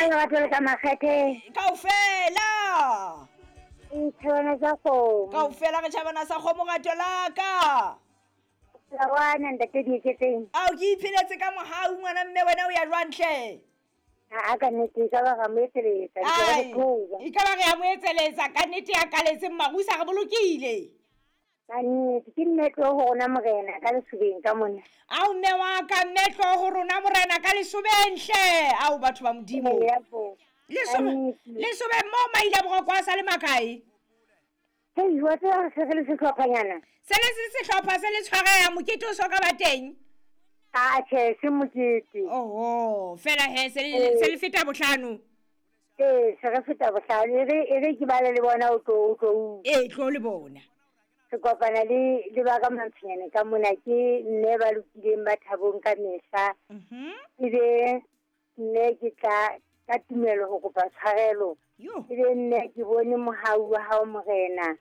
Ka lerato le ka makgethe. Kaofela. Dithabana tsa kgomo. Kaofela re tjhabana sa kgomo rato la ka. Lawana ntate Dieketseng. Ao ke ipheletse ka mohau ngwana mme wena o ya jwang hle? A ka nnete e ka ba ra mo etseletsa. Ai, e ka ba re ya mo etseletsa ka nnete ya kaletseng marusa re bolokile. Ka nnete ke mme tlo ho rona morena ka lesobeng ka mona. Ao mme wa ka mme tlo ho rona morena ka lesobeng hle. Ao batho ba Modimo. Lesobeng mo maile boroko a sa le makae? Hei, wa tseba re se re le sehlophanyana. Se le se sehlopha se le tshwareha mokete o so ka ba teng. A tjhe, se mokete. Oho, fela he se le se le feta bohlano. Ee, se re feta bohlano. E re e re ke bale le bona o tlo o tlo. Ee, tlo le bona. Re kopana le le ba ka Mantsonyane ka mona ke mme ba lokileng ba thabong ka mehla. Ebe mme ke tla ka tumelo ho kopa tshwarelo. Ebe mme ke bone mohau wa hao morena.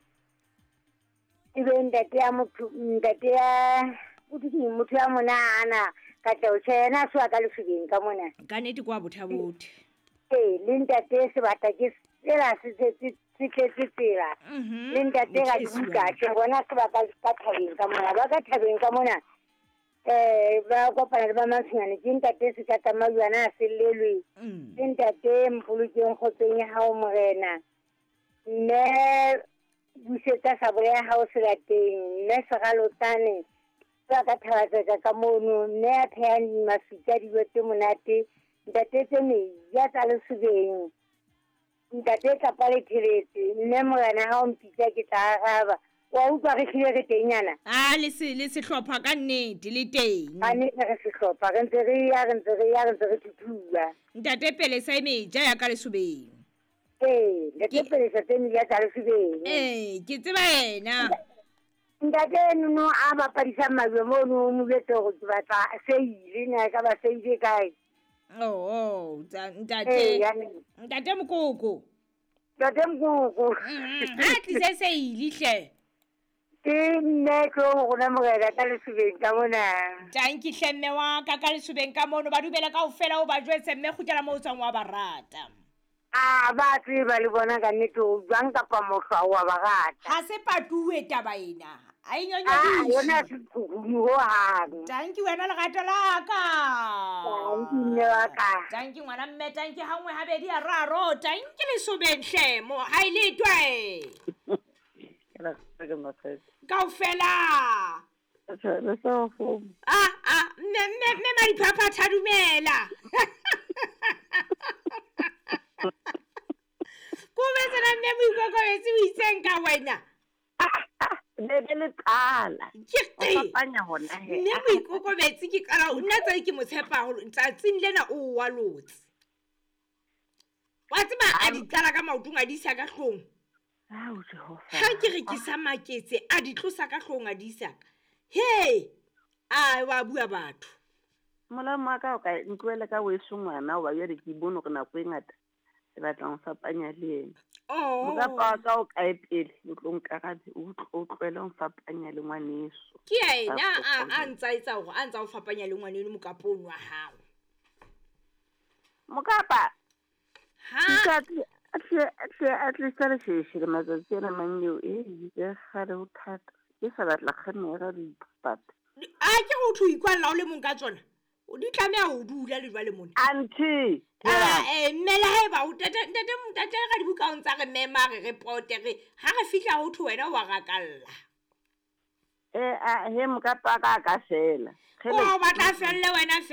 Ebe ntate ya motho ntate ya motho ya mona ana katleho tjhe yena a soa ka lefubeng ka mona. Ka nnete kwa bothabothe. Ee, le ntate sebata ke sela se tletse se tletse tsela. Le ntate ga dibuka tjhe bona se ba ka ka thabeng ka mona ba ka thabeng ka mona ba kopana le ba Mantsonyane ke ntate Sekatamajuana a sellelwe ke ntate Mpolokeng kgotsong ya hao morena mme busetsa sabole ya hao selateng mme Seralotsane ba ka thabatsetsa ka mono mme a phehang mafika dijo tse monate ntate tse meja tsa lesobeng ntate tlapa le theletse mme morena ha o mpitsa ke tla araba wa utlwa re hlile re teng yana a le se le sehlopha ka nnete le teng ka nnete re sehlopha re ntse re ya re ntse re ya re ntse re thuthua ntate Pelesa e meja ya ka lesobeng ee ntate Pelesa tse meja tsa lesobeng ee ke tseba yena ntate nono a bapadisang majwe mono o mo jwetse hore ke batla seile na e ka ba seile kae Oh, ntate. Ntate Mokoko. Ntate Mokoko. Ha tlise seile hle. Ke nne tlo ho rona morena ka lesobeng ka mona. Tanki hle mme wa ka ka lesobeng ka mono ba dumela kaofela o ba jwetse mme kgutlela moo o tswang wa ba rata. A ba tseba le bona ka nnete o jwang kapa mohlwa wa ba rata. Ha se patuwe taba ena. A e nyonyodise. Yona se tshukunu ho hang. Tanki wena lerato la ka. Tanki mme wa ka. Tanki ngwana mme tanki ha nngwe habedi a raro. Tanki lesobeng hle mo ha e le twe. Kaofela. Ah mme mme mme Madiphaphatha dumela. Ko betsena mme moikokobetsi o itseng ka wena. Be be le qala. Ke fapanya hona he. Mme moikokobetsi ke qala nna tsa ke mo tshepa haholo tsatsing lena o wa lotse. Wa tseba a di qala ka maotong a di isa ka hlong. Ao Jehova. Ha ke re ke sa maketse a di tlosa ka hlong a di isa. He! A wa bua batho. Molamo wa ka o ka ntlohele ka weso ngwana wa jwale ke bone hore nako e ngata le batla ho fapanya le yena. Oh. Mokapa wa ka o kae pele o tlo nkarabe o tlohele ho fapanya le ngwaneso. Ke yena a ntsa etsa hore a ntsa o fapanya le ngwaneno mokapong wa hao. Mokapa. Ha. A tlisa lesheshe le matsatsi ana mang eo e ke kgale ho thata. Ke sa batla kgemera dipata. A ke ho thwe ikwalla o le mong ka tsona. O di tlameha ho dula le jwale mona. Auntie. Mme le haeba o ntate ntate ka dibuka o ntsa re mema re pote re ha re fihla ho thwe wena wa rakalla. He mokapa ka ka fela. O batla felle wena fela.